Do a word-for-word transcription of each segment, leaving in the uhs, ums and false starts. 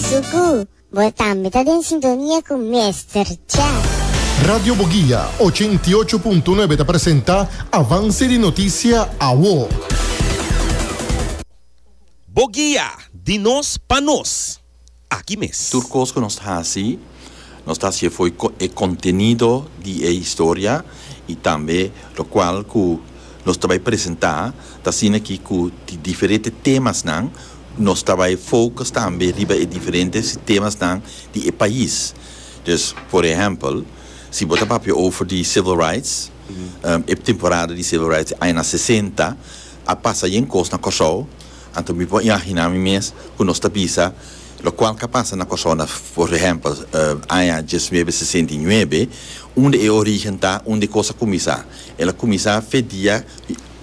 Suku, bo tambe ta den sintonia ku Mister Cha. Radio Boguia ochenta i ocho punto nuebe ta presentá Avance di Notisia Awo. Boguia, di nos pa nos. Aki mes. Tur kos ku nos ta hasi, nos ta hasi for di e kontenido di e historia i tambe lokual ku nos ta bai presentá, ta asina aki ku di diferente temanan, nos ta bai focus tambe riba e diferente temanan di e pais. Dus, por ehèmpel, si bo ta papia over di civil rights, um, e temporada di civil rights aña sesenta, a pasa yen kos na Kòrsou, anto mi por imaginá mi mes ku nos ta bisa lokual ku a pasa na Kòrsou, na, por ehèmpel, uh, aña diesnuebe sesenta i nuebe, unda e origen ta, unda e kos a kuminsá. El a kuminsá for di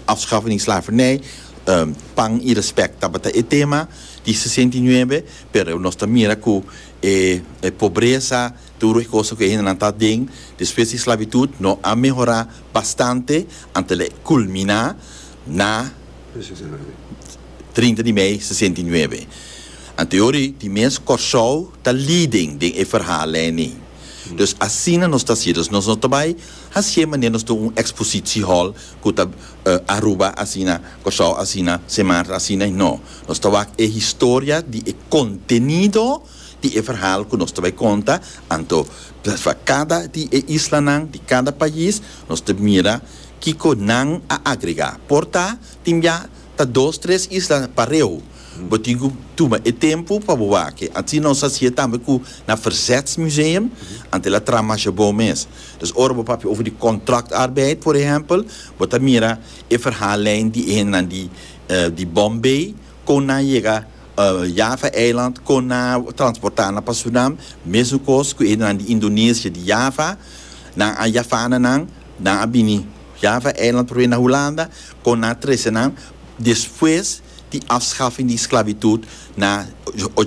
afschaffing di slavernij, um, pan i respet tabata e tema di sesenta i nuebe, pero nos ta mira ku e, e pobresa, tur e kos ku ainda ta den, despues di sklabitut, no a mehorá bastante, anto el a kulminá na trinta di mei sesenta i nuebe. Anto di mes Kòrsou ta leading den e verhaallijn. Dus asina nos ta hasiendo, dus nos no ta bai hasi manera nos un expositiehal ku ta uh, Aruba asina, Kòrsou asina, Sint Maarten asina, no. Nos ta wak e historia di e kontenido di e verhaal ku nos ta bai konta, anto pa kada di e islanan di kada pais nos ta mira kiko nan a agregá. Por ta tin ya ta dos, tres isla pareu. Bo tin ku tuma e tempu pa bo wak. Asina nos a hasi tambe ku na Verzetsmuseum, anto el a traha masha bon mes. Dus ora bo papia over di contractarbeid, por ehèmpel, bo ta mira e verhaallijn di een di uh, di Bombay, kon nan a yega uh, Java Eiland, kon nan a transportá nan pa Suriname, mesun kos ku e di Indonesia di Java, nan a Javananan, nan a bini Java Eiland probeer na Hulanda, kon nan a trese nan, despues di afschaffing di sklabitut na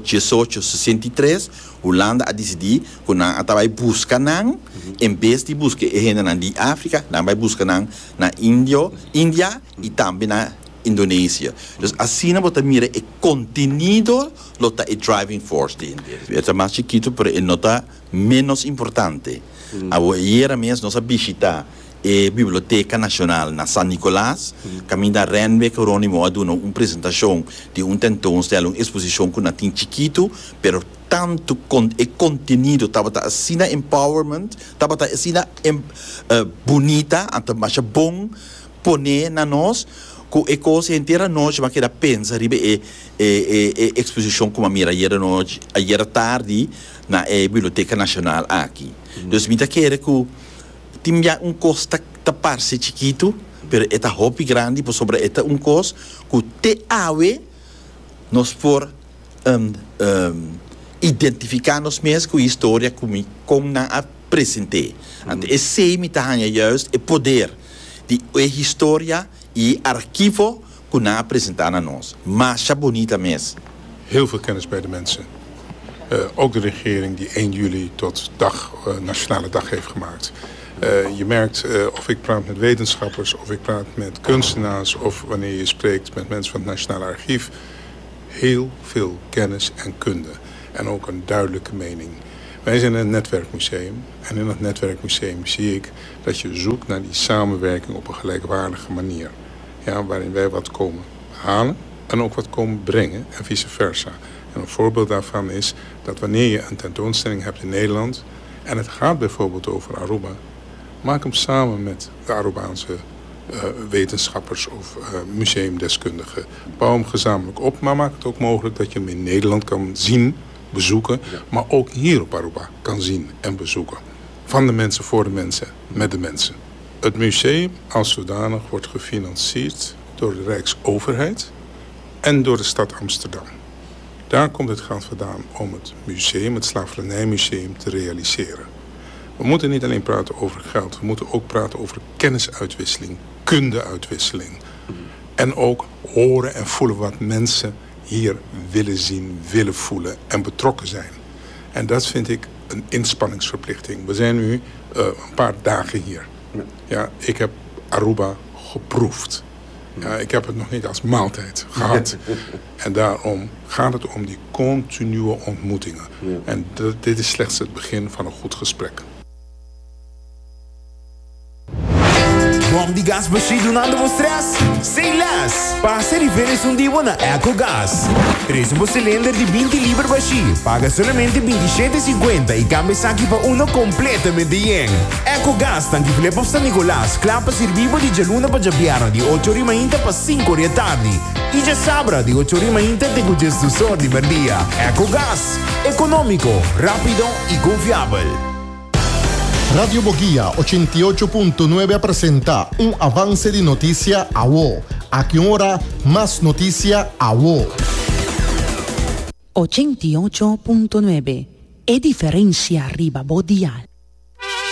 diesocho sesenta i tres, Hulanda a disidí ku nan a bai buska nan, en bes di buska e hendenan di Afrika, nan bai buska nan na Indio, India i tambe na Indonesia. Dus asina bo ta mira e kontenido lo ta e driving force di India. E mas chikitu, pero e no ta menos importante. Mm. Ayera mes nos a bishitá e Biblioteka Nashonal na San Nicolas, mm. kaminda Renwick Geronimo a duna un presentashon di un tentoonstelling, un eksposishon ku nan tin chikitu, pero tantu kon, e kontenido tabata asina empowerment, tabata asina em, uh, bunita, anto masha bon pone na nos, ku e kos henter anochi m'a keda pensa riba e e e, e eksposishon ku m'a mira ayera nochi, ayera tardi na e Biblioteka Nashonal aki. Mm. Dus mi ta kere ku tin ya un kos ta, ta parse chikitu, pero e ta hopi grandi, pasobra e ta un kos ku te awe nos por um, um, identifiká nos mes ku e historia ku mi kon nan a present'é. Anto esei mi ta haña juist e poder di e historia i archivo ku nan a presentá na nos. Masha bunita mes. Heel veel kennis bij de mensen. Uh, ook de regering die één juli tot dag, uh, nationale dag heeft gemaakt. Uh, je merkt of ik praat met wetenschappers, of ik praat met kunstenaars, of wanneer je spreekt met mensen van het Nationale Archief. Heel veel kennis en kunde. En ook een duidelijke mening. Wij zijn een netwerkmuseum. En in dat netwerkmuseum zie ik dat je zoekt naar die samenwerking op een gelijkwaardige manier. Ja, waarin wij wat komen halen en ook wat komen brengen en vice versa. En een voorbeeld daarvan is dat wanneer je een tentoonstelling hebt in Nederland en het gaat bijvoorbeeld over Aruba, maak hem samen met de Arubaanse uh, wetenschappers of uh, museumdeskundigen. Bouw hem gezamenlijk op, maar maak het ook mogelijk dat je hem in Nederland kan zien, bezoeken, ja. maar ook hier op Aruba kan zien en bezoeken. Van de mensen, voor de mensen, met de mensen. Het museum als zodanig wordt gefinancierd door de Rijksoverheid en door de stad Amsterdam. Daar komt het geld vandaan om het museum, het Slavernijmuseum, te realiseren. We moeten niet alleen praten over geld, we moeten ook praten over kennisuitwisseling, kundeuitwisseling. En ook horen en voelen wat mensen hier willen zien, willen voelen en betrokken zijn. En dat vind ik een inspanningsverplichting. We zijn nu uh, een paar dagen hier. Ja, ik heb Aruba geproefd. Ja, ik heb het nog niet als maaltijd gehad. En daarom gaat het om die continue ontmoetingen. En dit is slechts het begin van een goed gesprek. Bom di gas bashí dunando bo stress? Say less! Pasa riba esun di bo na Ecogas. Trese bo cilinder di binti liber bashí. Paga solamente binti shete sinkuenta i kambia esaki pa uno kompletamente yen. Ecogas ta Flip of San Nicolas, kla pa sirbi bo di djaluna pa djabièrnè di ocho ori mainta pa sinku ori atardi. I djasabra di ocho ori mainta te ku djesdos or di merdia. Ecogas, ekonómiko, rápido i konfiabel. Radio Boguia ochenta i ocho punto nuebe a presenta un avance di noticia awo. Aki un ora, mas noticia awo. Ochenta i ocho punto nuebe, e diferencia riba bo dial.